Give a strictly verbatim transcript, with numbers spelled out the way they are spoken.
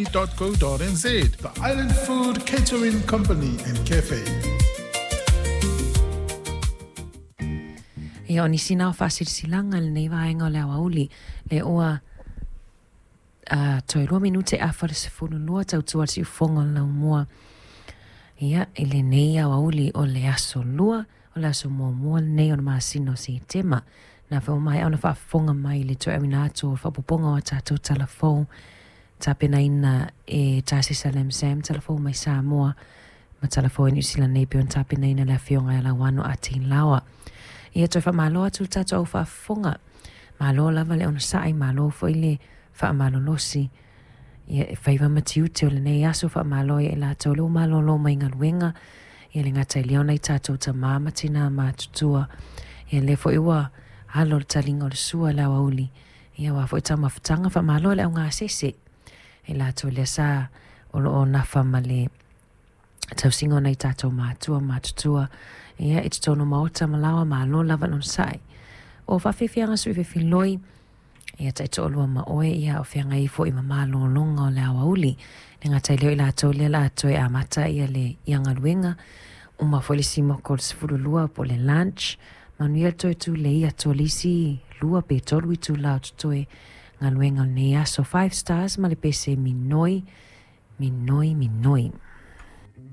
dot co dot n z. The Island Food Catering Company and Cafe. Ia o nisi na o faasilasilaga lenei vaega o le aoauli le ua uh, toe lua minute afa le sefulu lua tautua le siufoga o le laumua. Ia i lenei aoauli o le aso lua o le aso muamua lenei o le masina o Setema. Na fe o mai ona faafofoga mai le toeauina atu o faapopoga o a tatou talafou tapenaina e Tasisa Lam Sam talafou mai Samoa ma talafou i Niu Sila nei pe ona tapenaina le afioga ia Lauano a Teilaoa. Ia toe faamalo atu le tatou au faafofoga. Malo lava le onosa'i, malo foi le faamalolosi. Ia e faiva ma tiute o lenei aso faamalo ia i latou le ua malōlō mai galuega. Ia le gata i lea ona i tatou tamā ma tinā matutua. Ia lea foi ua alo le taliga o le sua i le aoauli. Ia ua foi taumafataga faamalo i le augasese. E latou lea sa o loo nafa ma le tausiga o nai tatou matua matutua. Ia i totonu maota ma laoa malo lava le onosa'i. O faafiafiaga sui fefiloi. Ia taitoalua ma oe ia o feagai foi ma malōlōga o le aoauli. Le gata i lea o i latou lea la toe amata ia le ia galuega. Uma foi le simoko o le sefululua po o le lunch. Manuia le toe tulei atu o le isi lua pe tolu itulā o totoe galuega o lenei aso. Five stars ma le pese minoi, minoi, minoi.